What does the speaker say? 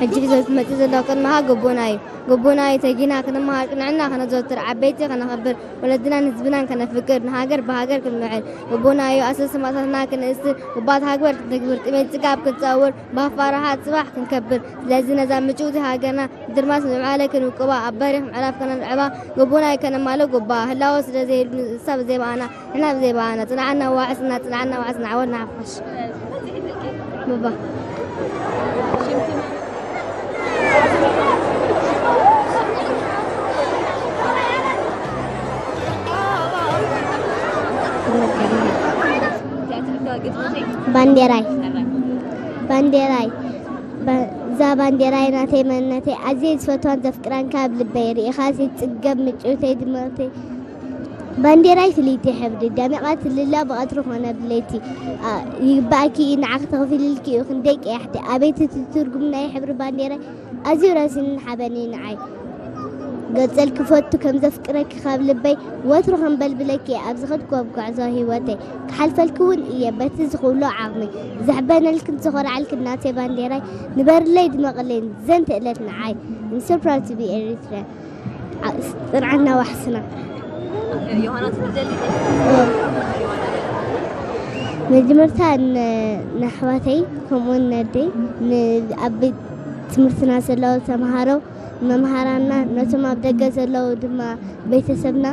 ሕጂ ሒዞ መፂኡ ዘሎ ቅድመኻ ጎቦና እዩ። ጎቦና እዩ ተጊና ክንመሃር፣ ቅንዕና ከነዘውትር፣ ዓበይቲ ከነኽብር፣ ወለድናን ህዝብናን ከነፍቅር፣ ንሃገር ብሃገር ክንምዕል። ጎቦና እዩ ኣሰስ ሰማእታትና ክንእስር፣ ውባት ሃግበር ክንተግብር፣ ጥሜት ጽጋብ ክንጸውር፣ ብሃፋ ራሓት ጽባሕ ክንከብር። ስለዚ ነዛ ምጭውቲ ሃገርና ድርማስ ምዕባለ ክንውቅባ፣ ኣብ በሪኽ ምዕራፍ ከነንዕባ፣ ጎቦና እዩ ከነማልእ ጉባ። ህላወ ስለ ዘይብሉ ንሳ ብዘይ በኣና፣ ንሕና ብዘይ በኣና። ጽንዓና ዋሕስና፣ ጽንዓና ዋሕስና፣ ዓወት ንሓፋሽ። ባባ። ባንዴራይ። ባንዴራይ። ባ-፣ እዛ ባንዴራይ ናተይ መንነተይ፣ ኣዝየ ዝፈትዋን ዘፍቅራን ካብ ልበይ፣ ርኢኻ ዘይትጽገብ ምጭውተይ ድምቕተይ። ባንዴራይ ፍልይቲ ሕብሪ፣ ደሚቓ ትልለ ብቐትሪ ኮነ ብለይቲ። ኣ፣ ይግባእኪ እዩ ንዓኺ ተኸፊልልኪ እዩ ክንደይ ቀያሕቲ። ኣቤት እቲ ትርጉም ናይ ሕብሪ ባንዴራይ፣ ኣዝዩ ረሲንን ሓበን እዩ ንዓይ። ገልጸልኪ ፈቱ ከም ዘፍቅረኪ ካብ ልበይ፣ ወትሩ ከም በልብለኪ እየ ኣብ ዝኸድክዎ ኣብ ጉዕዞ ህይወተይ። ክሓልፈልኪ እውን እየ በቲ ዝኽእሎ ዓቕመይ። ዘሕበነልክን ዝኾርዓልክን ናተይ ባንዴራይ፣ ንበርለይ ድመቕለይ ዘንተ እለት ንዓይ። I'm so proud to be Eritrean። ዓ-፣ ጽንዓና ዋሕስና። ዮሃና ትደሊ? መጀመርታ ን-፣ ንኣሕዋተይ ከምኡውን ነደይ ን-፣ ኣብ ቤት ትምህርትና ዘለዉ ተምሃሮ፣ መምሃራንና፣ ነቶም ኣብ ደገ ዘለዉ ድማ ቤተሰብና